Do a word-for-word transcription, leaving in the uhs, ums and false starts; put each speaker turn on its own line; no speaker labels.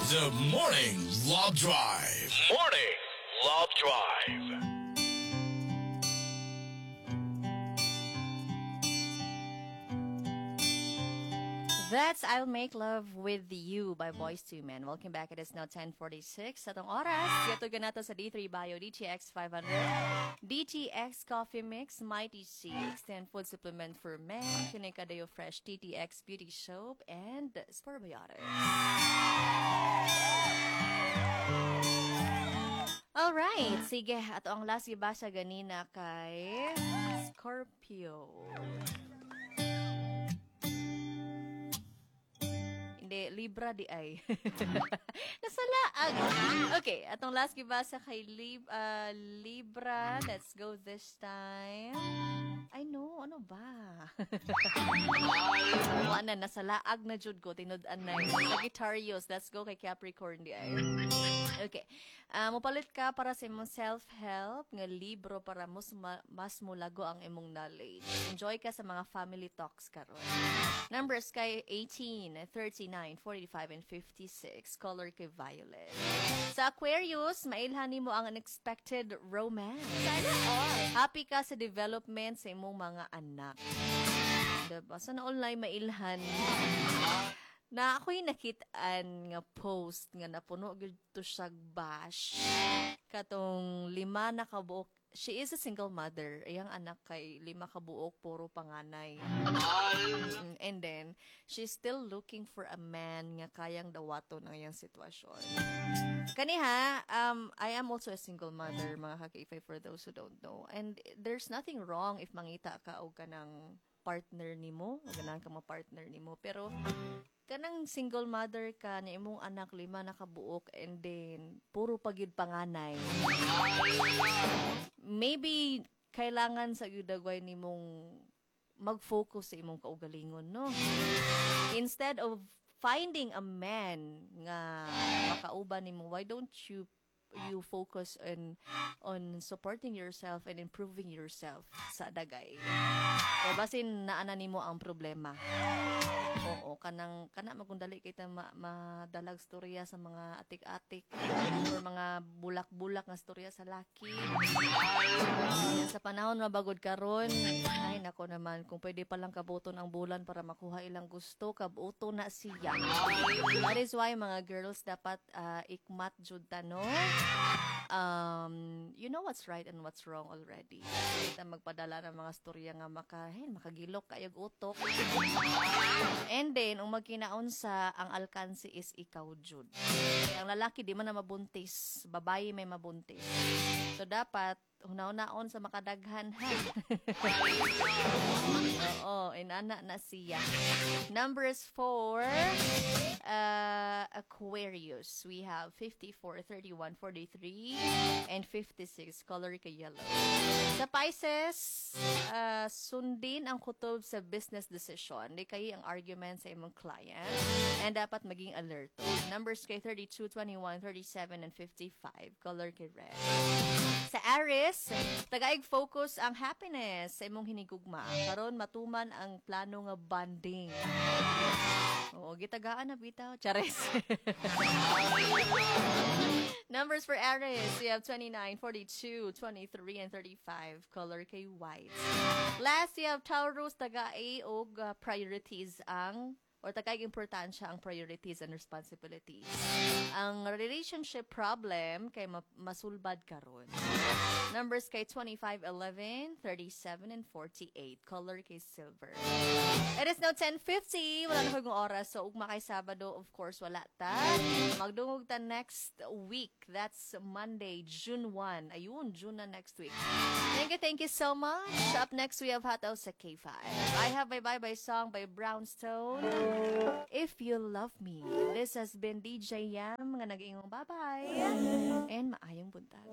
The Morning Love Drive.
Morning Love Drive.
That's I'll Make Love With You by Boyz II Men. Welcome back. It is now ten forty-six. Sa atong oras, gihatod nato sa D three Bio, D T X five hundred, D T X Coffee Mix, Mighty C, Extend Food Supplement for Men, Kinekadayo Fresh T T X Beauty Soap, and Sporebiotics. Alright, sige. Ato ang last gibasa ganina kay Scorpio. Hindi, Libra di ay. Nasalaag. Okay, atong last gibasa kay Lib uh, Libra. Let's go this time. I know, ano ba? Wala na, nasalaag na jud ko, tinud-an na. Sagittarius, let's go kay Capricorn di ay. Okay. Uh, mopalit ka para sa imong self-help nga libro para mas, ma- mas mulago ang imong knowledge. Enjoy ka sa mga family talks karon. Numbers kay eighteen, thirty-nine, forty-five, and fifty-six. Color kay violet. Sa Aquarius, mailhan nimo ang unexpected romance.
Sana all.
Happy ka sa development sa imong mga anak. Diba? Sana online mailhan. Na ako'y nakitaan nga post nga napuno gyud to siyag bash. Katong lima na kabuok. She is a single mother. Iyang anak kay lima kabuok, puro panganay. Mm, And then, she's still looking for a man nga kayang dawaton ang iyang sitwasyon. Kani ha, um, I am also a single mother, mga ka-K five, for those who don't know. And there's nothing wrong if mangita ka og kanang partner nimo, o ganahan ka ma-partner nimo. Pero kanang single mother ka na imong anak lima na kabuok and then puro pa gyud panganay. Maybe kailangan sa gyud dagway nimong mag-focus sa imong kaugalingon, no? Instead of finding a man nga makauban nimo, why don't you you focus on on supporting yourself and improving yourself sa dagay? Kaya basin naana nimo ang problema. Oo, kanang kana magundali kita ma, madalag storya sa mga atik-atik or mga bulak-bulak nga storya sa laki. Sa panahon mabagod karon, ay nako naman, kung pwede pa lang kabuton ang bulan para makuha ilang gusto, kabuto na siya. That is why, mga girls, dapat ah, ikmat jud ta, no? Um, you know what's right and what's wrong already. Kita magpadala ng mga storya nga maka, hey, makagilok kayog utok. And then, ang magkinaon sa ang alkansi is ikaw jud. Kaya ang lalaki di man na mabuntis, babae may mabuntis. So dapat hunaw-naon sa makadaghan ha. Oo, inana na siya. Numbers for uh, Aquarius. We have fifty-four, thirty-one, forty-three, and fifty-six. Color kay yellow. Sa Pisces, uh, sundin ang kutob sa business decision. Di kay ang argument sa imong client. And dapat maging alerto. Numbers kay thirty-two, twenty-one, thirty-seven, and fifty-five. Color kay red. Sa Aries, tagaig focus ang happiness sa imong hinigugma. Karon matuman ang plano nga bonding. Oo, gitagaan na bitaw. Chares. Numbers for Aries, we have twenty-nine, forty-two, twenty-three, and thirty-five. Color kay white. Last, we have Taurus, tagaay og uh, priorities ang or tagay importansya ang priorities and responsibilities. Ang relationship problem kay ma- masulbad karon. Numbers kay twenty-five, eleven, thirty-seven, and forty-eight. Color kay silver. It is now ten fifty. Wala na kong oras. So, ugma kay Sabado, of course, wala ta. Magdungog ta next week. That's Monday, June one. Ayun, June na next week. Thank you, thank you so much. Up next, we have Hataw sa K five. I have my bye-bye song by Brownstone, "If You Love Me." This has been D J Yam nga nag-iingong bye-bye and maayong buntag.